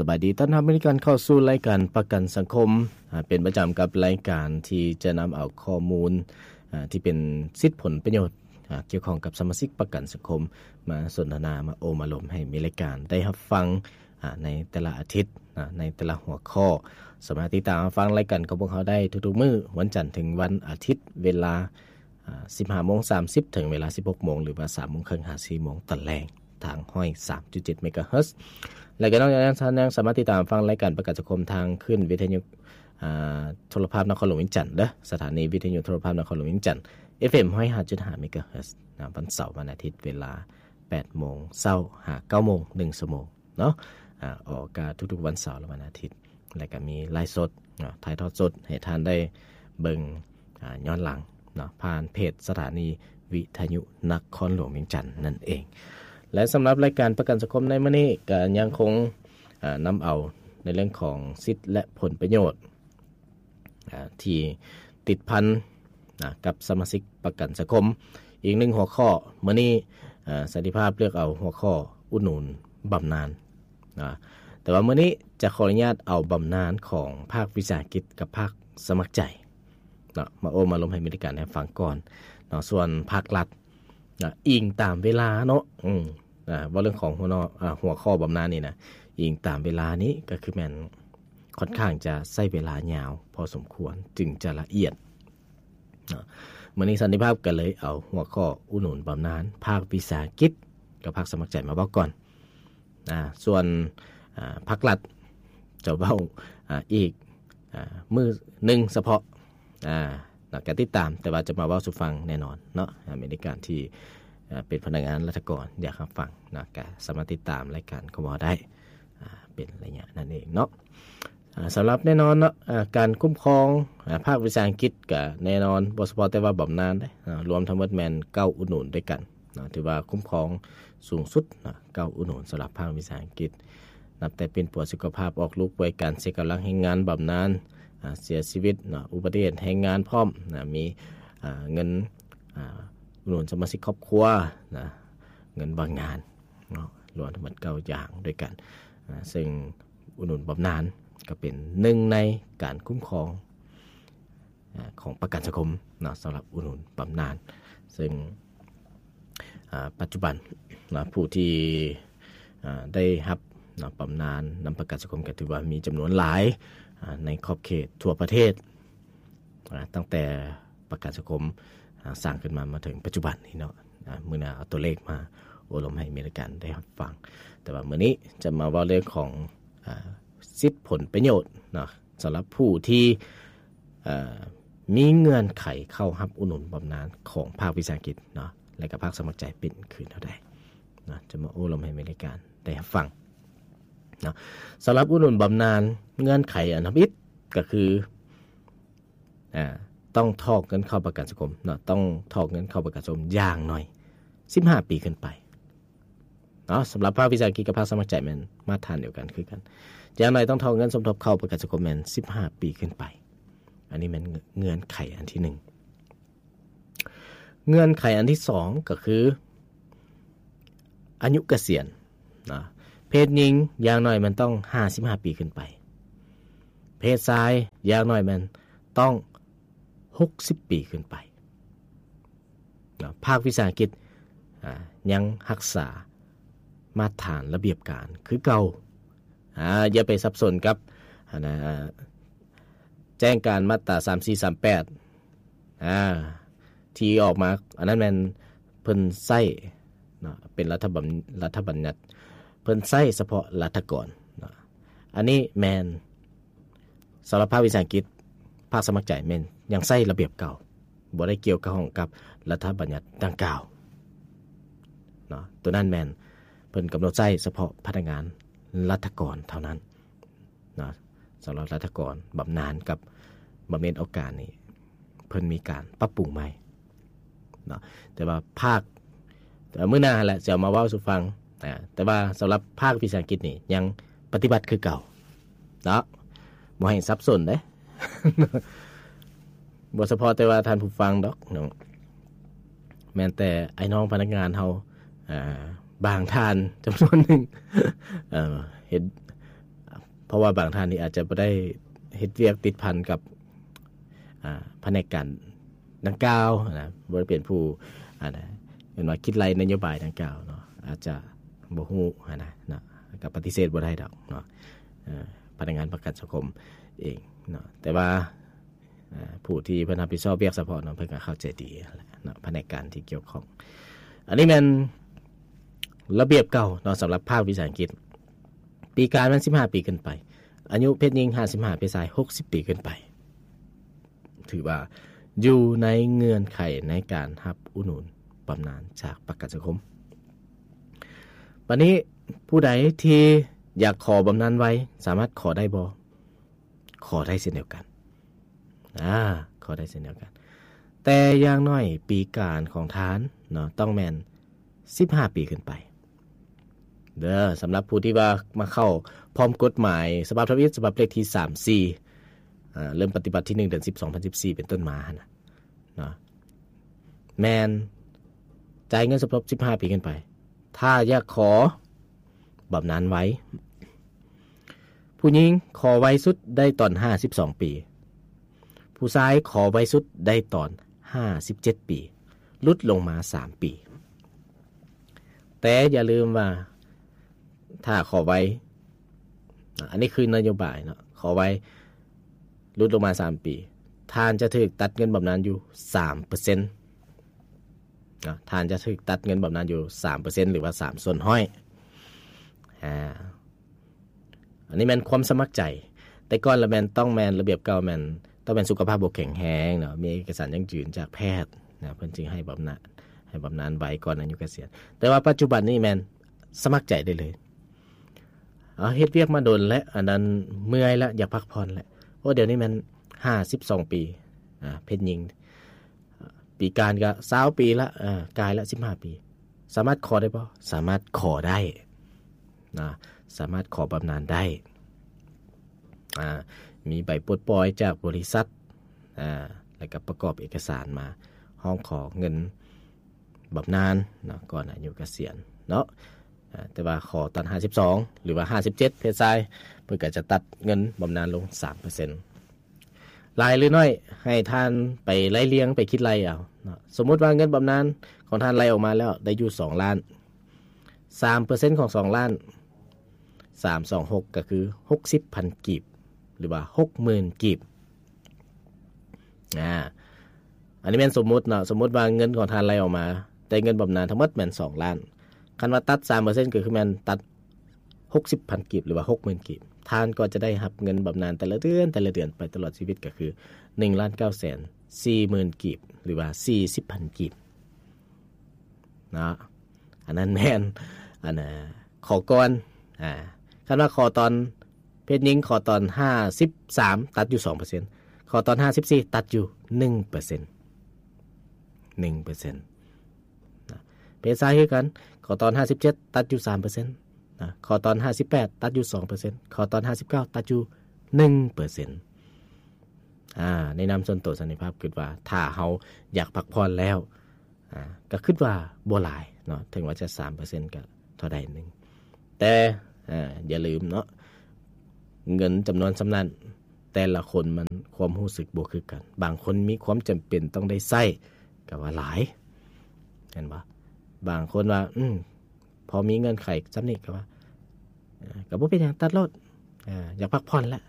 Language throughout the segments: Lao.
ສະບາຍດີ ຕ້ອນຮັບເຊັ່ນກັນເຂົ້າສູ່ລາຍການປະກັນສັງຄົມ ອາ ເປັນປະຈຳກັບລາຍການທີ່ຈະນຳເອົາຂໍ້ມູນ ອາ ທີ່ເປັນສິດຜົນປະໂຫຍດ ອາ ກ່ຽວຂ້ອງກັບສະມາຊິກປະກັນສັງຄົມ ມາສົນທະນາ ມາໂອ້ມາລົມໃຫ້ແຟນລາຍການໄດ້ຮັບຟັງ ອາ ໃນແຕ່ລະອາທິດ ອາ ໃນແຕ່ລະຫົວຂໍ້. ສາມາດຕິດຕາມຮັບຟັງລາຍການຂອງພວກເຮົາໄດ້ທຸກໆມື້ ວັນຈັນເຖິງວັນອາທິດ ເວລາ ອາ ສິບຫ້າໂມງສາມສິບ ເຖິງເວລາສິບຫົກໂມງ ຫຼືວ່າສາມໂມງເຄິ່ງຫາສີ່ໂມງຕອນແລງ ທາງຮ້ອຍສາມຈຸດເຈັດເມກາເຮີດ. ແລະກໍນອກຈາກນັ້ນ ທ່ານຍັງສາມາດຕິດຕາມຟັງລາຍການປະກັນສັງຄົມທາງຄື້ນວິທະຍຸ ອາ ໂທລະພາບນະຄອນຫຼວງວຽງຈັນເດີ້ ສະຖານີວິທະຍຸໂທລະພາບນະຄອນຫຼວງວຽງຈັນ ເອັຟເອັມຮ້ອຍຫ້າຈຸດຫ້າເມກາເຮີດ ນະ ວັນເສົາ ວັນອາທິດ ເວລາແປດໂມງເຊົ້າຫາເກົ້າໂມງ ໜຶ່ງຊົ່ວໂມງ ເນາະ ອາ ອອກອາກາດທຸກໆວັນເສົາ ແລະ ວັນອາທິດ ແລະ ກໍມີໄລຟ໌ສົດ ເນາະ ຖ່າຍທອດສົດໃຫ້ທ່ານໄດ້ເບິ່ງ ອາ ຍ້ອນຫຼັງ ເນາະ ຜ່ານເພຈສະຖານີວິທະຍຸນະຄອນຫຼວງວຽງຈັນນັ້ນເອງ. ແລະ ສຳລັບລາຍການປະກັນສັງຄົມໃນມື້ນີ້ ກໍຍັງຄົງ ອາ ນຳເອົາໃນເລື່ອງຂອງສິດ ແລະ ຜົນປະໂຫຍດ ອາ ທີ່ຕິດພັນ ອາ ກັບສະມາຊິກປະກັນສັງຄົມ. ອີກໜຶ່ງຫົວຂໍ້ ມື້ນີ້ ອາ ສັນຕິພາບເລືອກເອົາຫົວຂໍ້ອຸດໜູນບຳນານ ອາ ແຕ່ວ່າມື້ນີ້ຈະຂໍອະນຸຍາດເອົາບຳນານຂອງພາກວິສາຫະກິດກັບພາກສະໝັກໃຈ ເນາະ ມາໂອ້ມາລົມໃຫ້ແຟນລາຍການໄດ້ຟັງກ່ອນ ເນາະ. ສ່ວນພາກລັດ ນະ ອີງຕາມເວລາເນາະ ອືມ ນະ ເວົ້າເລື່ອງຂອງຫົວນອ ອາ ຫົວຂໍ້ບຳນານນີ້ນະ ອີງຕາມເວລານີ້ກໍຄືແມ່ນຄ່ອນຂ້າງຈະໃຊ້ເວລາຍາວພໍສົມຄວນ ຈຶ່ງຈະລະອຽດ ເນາະ. ມື້ນີ້ສັນຕິພາບກໍເລີຍເອົາຫົວຂໍ້ອຸດໜູນບຳນານພາກວິສາຫະກິດກັບພາກສະໝັກໃຈມາເວົ້າກ່ອນ. ອາ ສ່ວນ ອາ ພາກລັດຈະເວົ້າ ອາ ອີກ ອາ ມື້ໜຶ່ງສະເພາະ ອາ ນະ ກໍຕິດຕາມ ແຕ່ວ່າຈະມາເວົ້າສູ່ຟັງແນ່ນອນເນາະ. ອາ ແຟນລາຍການທີ່ ອາ ເປັນພະນັກງານລັດຖະກອນ ຢາກຮັບຟັງນະ ກໍສາມາດຕິດຕາມລາຍການຂອງເຮົາໄດ້ ອາ ເປັນໄລຍະນັ້ນເອງເນາະ. ອາ ສຳລັບແນ່ນອນເນາະ ອາ ການຄຸ້ມຄອງ ອາ ພາກວິສາຫະກິດ ກໍແນ່ນອນ ບໍ່ສະເພາະແຕ່ວ່າບຳນານເດ້ ອາ ລວມທັງໝົດແມ່ນເກົ້າອຸດໜູນດ້ວຍກັນເນາະ ຖືວ່າຄຸ້ມຄອງສູງສຸດເນາະ ເກົ້າອຸດໜູນສຳລັບພາກວິສາຫະກິດ ນັບແຕ່ປິ່ນປົວສຸຂະພາບ, ອອກລູກ, ປ່ວຍການ, ເສຍກຳລັງແຮງງານ, ບຳນານ, ອາ ເສຍຊີວິດເນາະ, ອຸບັດຕິເຫດແຮງງານພ້ອມນະ ມີ ອາ ເງິນ ອາ ອຸດໜູນສະມາຊິກຄອບຄົວນະ, ເງິນວ່າງງານເນາະ ລວມທັງໝົດເກົ້າຢ່າງດ້ວຍກັນ. ອາ ເຊິ່ງອຸດໜູນບຳນານກໍເປັນໜຶ່ງໃນການຄຸ້ມຄອງ ອາ ຂອງປະກັນສັງຄົມເນາະ ສຳລັບອຸດໜູນບຳນານ ເຊິ່ງ ອາ ປັດຈຸບັນນະ ຜູ້ທີ່ ອາ ໄດ້ຮັບນະ ບຳນານນຳປະກັນສັງຄົມ ກໍຖືວ່າມີຈຳນວນຫຼາຍ ອາ ໃນຂອບເຂດທົ່ວປະເທດ ອາ ຕັ້ງແຕ່ປະກັນສັງຄົມ ອາ ສ້າງຂຶ້ນມາ ມາເຖິງປັດຈຸບັນນີ້ເນາະ. ອາ ມື້ໜ້າເອົາຕົວເລກມາໂອ້ລົມໃຫ້ແຟນລາຍການໄດ້ຮັບຟັງ ແຕ່ວ່າມື້ນີ້ຈະມາເວົ້າເລື່ອງຂອງ ອາ ສິດຜົນປະໂຫຍດເນາະ ສຳລັບຜູ້ທີ່ ເອີ ມີເງື່ອນໄຂເຂົ້າຮັບອຸດໜູນບຳນານຂອງພາກວິສາຫະກິດເນາະ ແລະກໍພາກສະໝັກໃຈເປັນຄືແນວໃດເນາະ ຈະມາໂອ້ລົມໃຫ້ແຟນລາຍການໄດ້ຮັບຟັງເນາະ. ສຳລັບອຸດໜູນບຳນານ ເງື່ອນໄຂອັນທຳອິດກໍຄື ອາ ຕ້ອງຖອກເງິນເຂົ້າປະກັນສັງຄົມເນາະ ຕ້ອງຖອກເງິນເຂົ້າປະກັນສັງຄົມຢ່າງໜ້ອຍສິບຫ້າປີຂຶ້ນໄປ ເນາະ. ສຳລັບພາກວິສາຫະກິດກັບພາກສະໝັກໃຈແມ່ນມາດຖານດຽວກັນຄືກັນ ຢ່າງໜ້ອຍຕ້ອງຖອກເງິນສົມທົບເຂົ້າປະກັນສັງຄົມແມ່ນສິບຫ້າປີຂຶ້ນໄປ. ອັນນີ້ແມ່ນເງື່ອນໄຂອັນທີໜຶ່ງ. ເງື່ອນໄຂອັນທີສອງກໍຄືອາຍຸກະສຽນເນາະ ເພດຍິງຢ່າງໜ້ອຍແມ່ນຕ້ອງຫ້າສິບຫ້າປີຂຶ້ນໄປ ເພດຊາຍຢ່າງໜ້ອຍແມ່ນຕ້ອງຫົກສິບປີຂຶ້ນໄປ. ເນາະ ພາກວິສາຫະກິດ ອາ ຍັງຮັກສາມາດຖານລະບຽບການຄືເກົ່າ. ອາ ຢ່າໄປສັບສົນກັບ ອັນນະ ແຈ້ງການມາດຕາສາມສີ່ສາມແປດ ອາ ທີ່ອອກມາ ອັນນັ້ນແມ່ນເພິ່ນໃຊ້ເນາະ ເປັນລັດຖະບັນ ລັດຖະບັນຍັດ ເພິ່ນໃຊ້ສະເພາະລັດຖະກອນເນາະ. ອັນນີ້ແມ່ນ ສຳລັບພາກວິສາຫະກິດ ພາກສະໝັກໃຈແມ່ນຍັງໃຊ້ລະບຽບເກົ່າ ບໍ່ໄດ້ກ່ຽວຂ້ອງກັບລັດຖະບັນຍັດດັ່ງກ່າວເນາະ. ໂຕນັ້ນແມ່ນເພິ່ນກຳນົດໃຊ້ສະເພາະພະນັກງານລັດຖະກອນເທົ່ານັ້ນເນາະ. ສຳລັບລັດຖະກອນບຳນານກັບບຳເໜັນໂອກາດນີ້ ເພິ່ນມີການປັບປຸງໃໝ່ເນາະ ແຕ່ວ່າພາກ ແຕ່ວ່າມື້ໜ້າຫັ້ນແຫຼະ ຈະເອົາມາເວົ້າສູ່ຟັງ. ອາ ແຕ່ວ່າສຳລັບພາກວິສາຫະກິດນີ້ຍັງປະຕິບັດຄືເກົ່າເນາະ ບໍ່ໃຫ້ສັບສົນເດ້ ບໍ່ສະເພາະແຕ່ວ່າທ່ານຜູ້ຟັງດອກເນາະ ແມ່ນແຕ່ອ້າຍນ້ອງພະນັກງານເຮົາ ອາ ບາງທ່ານຈຳນວນໜຶ່ງ ເອີ ເຮັດ ພາະວ່າບາງທ່ານນີ້ອາດຈະບໍ່ໄດ້ເຮັດວຽກຕິດພັນກັບ ອ່າ ພະແນກການດັ່ງກ່າວນະ ບໍ່ໄດ້ເປັນຜູ້ ອ່າ ນະ ເອີ້ນວ່າຄິດໄລ່ນະໂຍບາຍດັ່ງກ່າວເນາະ ອາດຈະບໍ່ຮູ້ຫັ້ນນະເນາະ ກໍປະຕິເສດບໍ່ໄດ້ດອກເນາະ ເອີ ພະນັກງານປະກັນສັງຄົມເອງເນາະ ແຕ່ວ່າ ອ່າ ຜູ້ທີ່ເພິ່ນຮັບຜິດຊອບວຽກສະເພາະເນາະ ເພິ່ນກໍເຂົ້າໃຈດີຫັ້ນແຫຼະເນາະ ພະແນກການທີ່ກ່ຽວຂ້ອງ. ອັນນີ້ແມ່ນລະບຽບເກົ່າເນາະ ສຳລັບພາກວິຊາອັງກິດ ປີການແມ່ນສິບຫ້າປີຂຶ້ນໄປ, ອາຍຸເພດຍິງຫ້າສິບຫ້າ ເພດຊາຍຫົກສິບປີຂຶ້ນໄປ ຖືວ່າຢູ່ໃນເງື່ອນໄຂໃນການຮັບອຸດໜູນບຳນານຈາກປະກັນສັງຄົມ. ບັດນີ້ຜູ້ໃດທີ່ຢາກຂໍບຳນານໄວ ສາມາດຂໍໄດ້ບໍ່? ຂໍໄດ້ເຊັ່ນດຽວກັນ ອາ ຂໍໄດ້ເຊັ່ນດຽວກັນ ແຕ່ຢ່າງໜ້ອຍປີການຂອງທ່ານເນາະ ຕ້ອງແມ່ນສິບຫ້າປີຂຶ້ນໄປເດີ. ສຳລັບຜູ້ທີ່ວ່າມາເຂົ້າພ້ອມກົດໝາຍສະບັບທຳອິດ ສະບັບເລກທີສາມສີ່ ອາ ເລີ່ມປະຕິບັດທີໜຶ່ງ ເດືອນສິບ ສອງພັນສິບສີ່ ເປັນຕົ້ນມາຫັ້ນນະ ເນາະ ແມ່ນຈ່າຍເງິນສົມທົບສິບຫ້າປີຂຶ້ນໄປ. ຖ້າຢາກຂໍບຳນານໄວ ຜູ້ຍິງຂໍໄວສຸດໄດ້ຕອນຫ້າສິບສອງປີ, ຜູ້ຊາຍຂໍໄວສຸດໄດ້ຕອນຫ້າສິບເຈັດປີ, ຫຼຸດລົງມາສາມປີ. ແຕ່ຢ່າລືມວ່າ ຖ້າຂໍໄວ ອັນນີ້ຄືນະໂຍບາຍເນາະ ຂໍໄວ ຫຼຸດລົງມາສາມປີ ທ່ານຈະຖືກຕັດເງິນບຳນານຢູ່ສາມເປີເຊັນເນາະ ທ່ານຈະຖືກຕັດເງິນບຳນານຢູ່ສາມເປີເຊັນ ຫຼືວ່າສາມສ່ວນຮ້ອຍ ອາ ອັນນີ້ແມ່ນຄວາມສະໝັກໃຈ. ແຕ່ກ່ອນລະແມ່ນ ຕ້ອງແມ່ນ ລະບຽບເກົ່າແມ່ນ ຕ້ອງແມ່ນສຸຂະພາບບໍ່ແຂງແຮງເນາະ ມີເອກະສານຢັ້ງຢືນຈາກແພດນະ ເພິ່ນຈຶ່ງໃຫ້ບຳນານ ໃຫ້ບຳນານໄວກ່ອນອາຍຸກະສຽນ. ແຕ່ວ່າປັດຈຸບັນນີ້ແມ່ນສະໝັກໃຈໄດ້ເລີຍ ເອົາ ເຮັດວຽກມາດົນແລ້ວ ອັນນັ້ນເມື່ອຍແລ້ວ ຢາກພັກຜ່ອນແລ້ວ. ໂອ້ ດຽວນີ້ແມ່ນຫ້າສິບສອງປີ ອາ ເພດຍິງ ປີການກໍຊາວປີລະ ເອີ ກາຍລະສິບຫ້າປີ ສາມາດຂໍໄດ້ບໍ່? ສາມາດຂໍໄດ້ນະ ສາມາດຂໍບຳນານໄດ້ ອາ ມີໃບປົດປ່ອຍຈາກບໍລິສັດ ອາ ແລ້ວກໍປະກອບເອກະສານມາຮ້ອງຂໍເງິນບຳນານເນາະ ກ່ອນອາຍຸກະສຽນເນາະ. ອາ ແຕ່ວ່າຂໍຕອນຫ້າສິບສອງ ຫຼືວ່າຫ້າສິບເຈັດ ເພດຊາຍ ເພິ່ນກໍຈະຕັດເງິນບຳນານລົງສາມເປີເຊັນ. ຫຼາຍຫຼືໜ້ອຍ ໃຫ້ທ່ານໄປໄລ່ລຽງ ໄປຄິດໄລ່ເອົາເນາະ. ສົມມຸດວ່າເງິນບຳນານຂອງທ່ານໄລ່ອອກມາແລ້ວໄດ້ຢູ່ສອງລ້ານ, ສາມເປີເຊັນຂອງສອງລ້ານ ສາມສອງຫົກ ກໍຄືຫົກສິບພັນກີບ ຫຼືວ່າຫົກໝື່ນກີບ. ອາ ອັນນີ້ແມ່ນສົມມຸດເນາະ, ສົມມຸດວ່າເງິນຂອງທ່ານໄລ່ອອກມາ ໄດ້ເງິນບຳນານທັງໝົດແມ່ນສອງລ້ານ, ຄັນວ່າຕັດສາມເປີເຊັນ ກໍຄືແມ່ນຕັດຫົກສິບພັນກີບ ຫຼືວ່າຫົກໝື່ນກີບ, ທ່ານກໍຈະໄດ້ຮັບເງິນບຳນານແຕ່ລະເດືອນ ແຕ່ລະເດືອນໄປຕະຫຼອດຊີວິດ ກໍຄືໜຶ່ງລ້ານເກົ້າແສນສີ່ໝື່ນກີບ ຫຼືວ່າສີ່ສິບພັນກີບເນາະ. ອັນນັ້ນແມ່ນ ອັນ ອາ ຂໍກ່ອນ ອາ ຄັນວ່າຂໍຕອນ ເພດຍິງຂໍຕອນຫ້າສິບສາມ ຕັດຢູ່ສອງເປີເຊັນ, ຂໍຕອນຫ້າສິບສີ່ ຕັດຢູ່ໜຶ່ງເປີເຊັນ ໜຶ່ງເປີເຊັນນະ. ເພດຊາຍຄືກັນ, ຂໍຕອນຫ້າສິບເຈັດ ຕັດຢູ່ສາມເປີເຊັນນະ, ຂໍຕອນຫ້າສິບແປດ ຕັດຢູ່ສອງເປີເຊັນ, ຂໍຕອນຫ້າສິບເກົ້າ ຕັດຢູ່ໜຶ່ງເປີເຊັນ. ອາ ໃນນາມສ່ວນໂຕສັນຕິພາບ ຄິດວ່າຖ້າເຮົາຢາກພັກຜ່ອນແລ້ວ ອາ ກໍຄິດວ່າບໍ່ຫຼາຍເນາະ, ເຖິງວ່າຈະສາມເປີເຊັນກໍເທົ່າໃດໜຶ່ງ, ແຕ່ ອາ ຢ່າລືມເນາະ ເງິນຈຳນວນສ່ຳນັ້ນ ແຕ່ລະຄົນມັນຄວາມຮູ້ສຶກບໍ່ຄືກັນ, ບາງຄົນມີຄວາມຈຳເປັນຕ້ອງໄດ້ໃຊ້ ກໍວ່າຫຼາຍ ແມ່ນບໍ່? ບາງຄົນວ່າ ອືມ ພໍມີເງື່ອນໄຂສ່ຳນີ້ ກໍວ່າ ເອີ ກໍບໍ່ເປັນຫຍັງ ຕັດໂລດ ເອີ ຢາກພັກຜ່ອນແຫຼະ.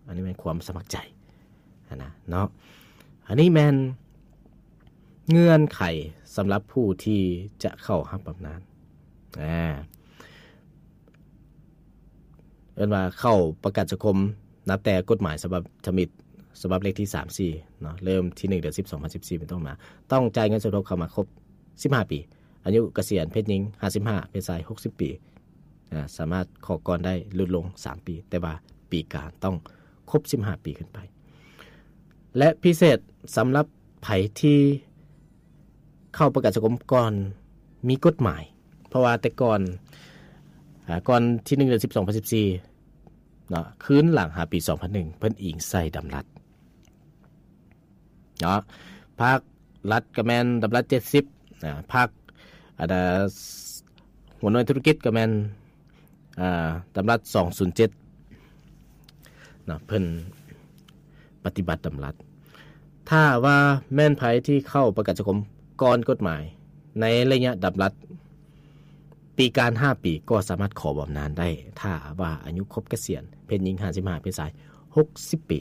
ອັນນີ້ແມ່ນຄວາມສະໝັກໃຈຫັ້ນນະເນາະ. ອັນນີ້ແມ່ນເງື່ອນໄຂສຳລັບຜູ້ທີ່ຈະເຂົ້າຮັບບຳນານ ອາ ເອີ້ນວ່າເຂົ້າປະກັນສັງຄົມ ນັບແຕ່ກົດໝາຍສະບັບທຳອິດ ສະບັບເລກທີສາມສີ່ເນາະ ເລີ່ມທີໜຶ່ງ ເດືອນສິບ ສອງພັນສິບສີ່ ເປັນຕົ້ນມາ ຕ້ອງຈ່າຍເງິນສົມທົບເຂົ້າມາຄົບສິບຫ້າປີ. ອາຍຸກະສຽນ ເພດຍິງຫ້າສິບຫ້າ ເພດຊາຍຫົກສິບປີ ອາ ສາມາດຂໍກ່ອນໄດ້ ຫຼຸດລົງສາມປີ ແຕ່ວ່າປີການຕ້ອງຄົບສິບຫ້າປີຂຶ້ນໄປ. ແລະ ພິເສດສຳລັບໃຜທີ່ເຂົ້າປະກັນສັງຄົມກ່ອນມີກົດໝາຍ, ເພາະວ່າແຕ່ກ່ອນ ອາ ກ່ອນທີໜຶ່ງ ເດືອນສິບ ສອງພັນສິບສີ່ເນາະ ຄືນຫຼັງຫາປີສອງພັນໜຶ່ງ ເພິ່ນອີງໃສ່ດຳລັດ ເນາະ, ພາກລັດກໍແມ່ນດຳລັດເຈັດສິບ ອາ ພາກ ອັນ ຫົວໜ່ວຍທຸລະກິດກໍແມ່ນ ອາ ດຳລັດສອງສູນເຈັດ. ເນາະ ເພິ່ນປະຕິບັດດຳລັດ. ຖ້າວ່າແມ່ນໃຜທີ່ເຂົ້າປະກັນສັງຄົມກ່ອນກົດໝາຍໃນໄລຍະດຳລັດຕີການຫ້າປີ ກໍສາມາດຂໍບຳນານໄດ້ ຖ້າວ່າອາຍຸຄົບກະສຽນ ເພດຍິງຫ້າສິບຫ້າ ເພດຊາຍຫົກສິບປີ.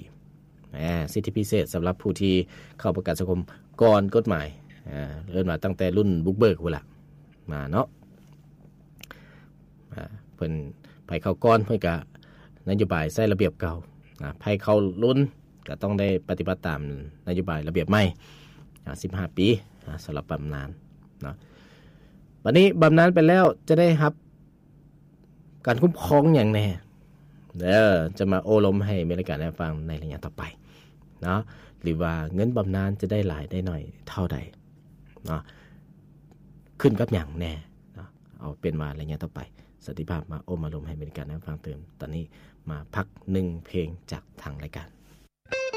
ອາ ສິດທິພິເສດສຳລັບຜູ້ທີ່ເຂົ້າປະກັນສັງຄົມກ່ອນກົດໝາຍ ອາ ເອີ້ນວ່າຕັ້ງແຕ່ລຸ້ນບຸກເບີກພຸ້ນລະ ມາເນາະ. ອາ ເພິ່ນ ໃຜເຂົ້າກ່ອນເພິ່ນກະນະໂຍບາຍໃຊ້ລະບຽບເກົ່າ ອາ ໃຜເຂົ້າລຸ້ນກະຕ້ອງໄດ້ປະຕິບັດຕາມນະໂຍບາຍລະບຽບໃໝ່ ອາ ສິບຫ້າປີ ອາ ສຳລັບບຳນານເນາະ. ບັດນີ້ບຳນານໄປແລ້ວຈະໄດ້ຮັບການຄຸ້ມຄອງຫຍັງແດ່ ເອີ ຈະມາໂອ້ລົມໃຫ້ແຟນລາຍການໄດ້ຟັງໃນໄລຍະຕໍ່ໄປເນາະ ຫຼືວ່າເງິນບຳນານຈະໄດ້ຫຼາຍໄດ້ໜ້ອຍເທົ່າໃດເນາະ ຂຶ້ນກັບຫຍັງແດ່ເນາະ. ເອົາເປັນວ່າໄລຍະຕໍ່ໄປ ສັນຕິພາບມາໂອ້ມາລົມໃຫ້ແຟນລາຍການໄດ້ຟັງຕື່ມ. ຕອນນີ້ມາພັກໜຶ່ງເພງຈາກທາງລາຍການ.